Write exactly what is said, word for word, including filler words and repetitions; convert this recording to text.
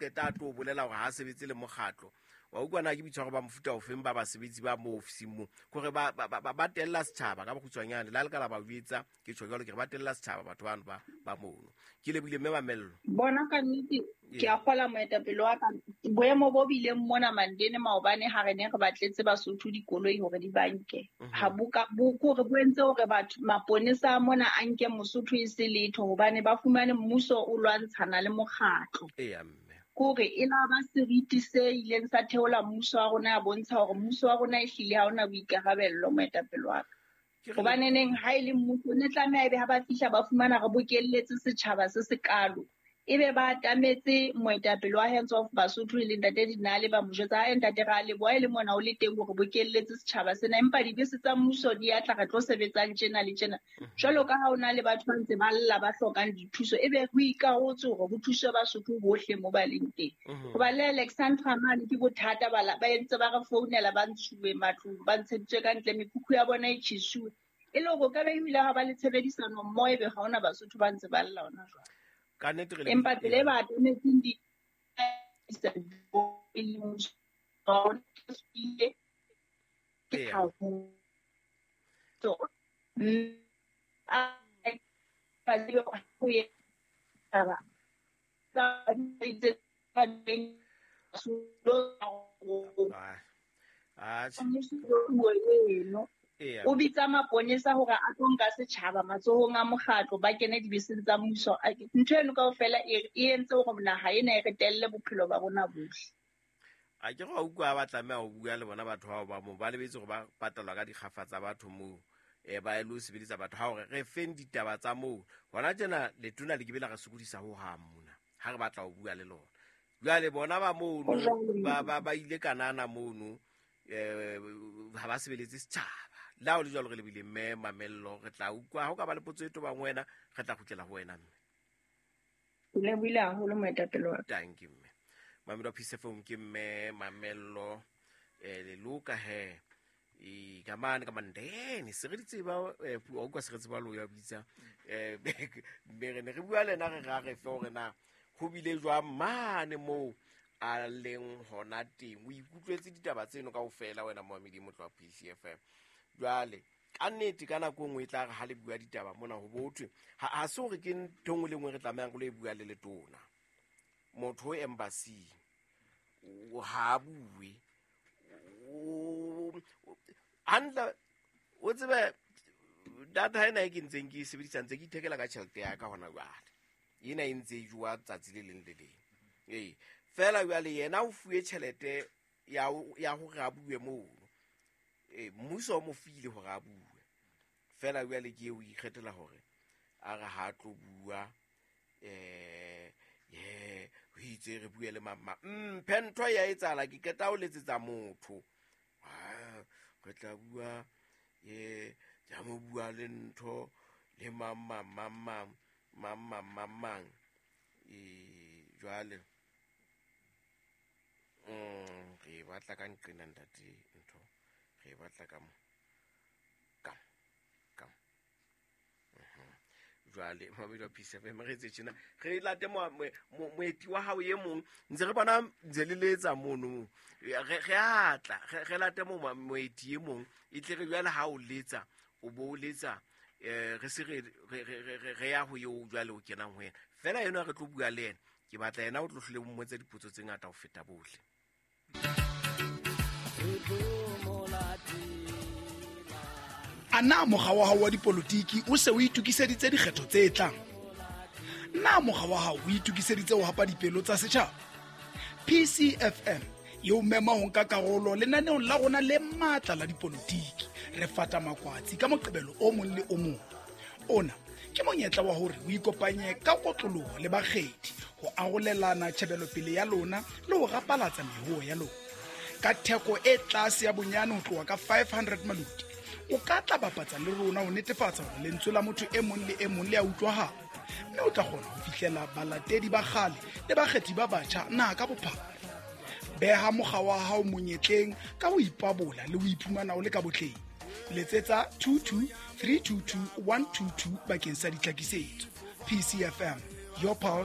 qeta a tlo bolela hore ha a sebetse le mokgatlo. Wa utlwa na ke boitshwaro ba mofuta ofeng ba basebetsi ba mo ofising moo, kore ba ba ba ba tella setjhaba ka bokgutshwanyane. Le ha le ka la ba jwetsa, ke tjho jwalo, ke re ba tella setjhaba batho bano ba ba mono. Ke lebohile mme Mamello. Bona ka nnete ke a kgola moetapele wa ka, boemo bo bileng mona Mandene maobane ha re ne re batletse Basotho dikoloi hore di banke. Ha bo ka bo kore bo entse hore batho maponesa a mona a nke Mosotho e se letho, hobane ba fumane mmuso o lwantshana le mokgatlo. Eya mme. Kore e la ba seriti se ileng sa theola mmuso wa rona, ya bontsha hore mmuso wa rona ehlile ha ona boikarabello moetapele wa ka. Ke re Hobane neng ha e le mmuso ne tlameha ebe ha ba fihla ba fumana re bokelletse setjhaba se sekalo, ebe ba atametse moetapele wa Hands Off Basotho e leng Ntate Dinale, ba mo jwetsa, "Ae ntate, ra leboha e le mona o le teng hore bokelletse setjhaba sena, empa dibese tsa mmuso di a tla, re tlo sebetsang tjena le tjena." Jwalo ka ha o na le batho ba ntse ba lla ba hlokang dithuso, ebe ho ikarotse hore ho thuswe Basotho bohle mo ba leng teng. Hoba le Alexandra mane ke bothata, ba la, ba entse ba re founela, ba ntshuwe matlong, ba ntsheditswe ka ntle, mekhukhu ya bona e tjhesuwe. E le hore o ka be ebile ha ba le tshebedisano mmoho, ebe ha hona Basotho ba ntse ba lla hona jwale. Ka nnete re le Empa tsela e ba atametseng di e le mmuso wa rona ke Eya. haholo. So, mm, a ba tsebe ho e taba. Tsa itse ba teng, Ah, atjhe. Mmuso o eno. Eya. O bitsa maponesa hore a tlo nka setjhaba matsohong a mokgatlo, ba kene dibeseng tsa mmuso. A ke-, ntho eno kaofela e, e entse hore naha ena e re telle bophelo ba rona bohle. A ke re wa utlwa ba tlameha ho bua le bona batho bao ba moo, ba lebetse hore ba patalwa ka dikgafa tsa batho moo, eh, ba lo sebeletsa batho. Ha hore re feng ditaba tsa moo hona tjena, letona le ke be la re sokodisa ho hang mona ha re batla ho bua le lona. Jwale bona ba mono, Ho jwalo. ba, ba, ba ile kanana mono, eh, ha ba sebeletse setjhaba. Le ha ho le jwalo, re lebile mme Mamello, re tla utlwa ha o ka ba le potso e tobang wena, re tla kgutlela ho wena mme. Ke lebohile haholo moetapele wa ka. Thank you mme. Mamelo wa Peace F M ke mme Mamello, eh, Leloka he. E, ka mane, ka Mandene, se re di tseba, eh, puo, wa utlwa se re tseba lo ya bitsa. Eh, mme re ne re bua le ena, re ra re fe hore na ho bile jwang mane moo a leng hona teng. O ikutlwetse ditaba tseno kaofela wena moamedi motho wa Peace F M. Jwale ka nnete ka nako e nngwe e tla re ha le bua ditaba mona ho bothwe, ha, ha se hore ke ntho e nngwe le nngwe re tlamehang re lo e bua le letona. Motho o embassy, o ha a bue. O, hantle, o tsebe data ena e ke ntseng ke e sebedisa, ntse ke ithekela ka tjhelete ya ka hona jwale. Ena e ntse e jowa tsatsi le leng le leng. Ee, feela jwale yena o fuwe tjhelete ya ho, ya hore a bue mono. Ee, mmuso o mo file hore a bue. Feela jwale ke eo o ikgethela hore a re ha tlo bua, eh, ye, ho itse re bue le mang mang. Mphe ntho ya etsahala, ke qeta ho letsetsa motho. Ah, re tla bua, ye, ja mo bua le ntho le mang, mang, mang, mang, mang, mang, mang, mang. E, jwale, mm, re batla ka nqena ntate ntho. Re batla ka mo. Ka mo. Ka mo. Mhm. Jwale, Mamedi wa Peace F M, re etse tjena. Re late mo-, mo-, mo-, moeti wa hao e mong. Ntse re bona ntse le letsa mono. Re, re a tla. Re, re late mo-, mo-, moeti e mong. E tle re jwale ha o letsa, o bo o letsa, eh, re se re, re, re, re, re, re ya ho eo jwale o kenang ho yena. Feela ena re tlo bua le yena. Ke batla yena o tlo hlole o mmotse dipotso tse ngata ho feta bohle. A na mokga wa hao wa dipolotiki o se o itokiseditse dikgetho tse tlang? Na mokga wa hao o itokiseditse ho hapa dipelo tsa setjhaba? P C F M e o mema ho nka karolo lenaneong la rona le matla la dipolotiki. Re fata makwatsi ka Moqebelo o mong le o mong. Ona ke monyetla wa hore o ikopanye ka kotloloho le bakgethi ho arolelana tjhebelopele ya lona le ho rapalatsa mehoo ya lona. Ka theko e tlase ya bonyane ho tloha ka five hundred maloti, o ka tla bapatsa le rona ho netefatsa hore lentswe la motho e mong le e mong le a utlwahala, mme o tla kgona ho fihlela balatedi ba kgale le bakgethi ba batjha naha ka bophara. Beha mokga wa hao monyetleng ka ho ipabola le ho iphumana o le ka botleng. Letsetsa two two three two two one two two bakeng sa ditlhakisetso. P C F M, your pulse.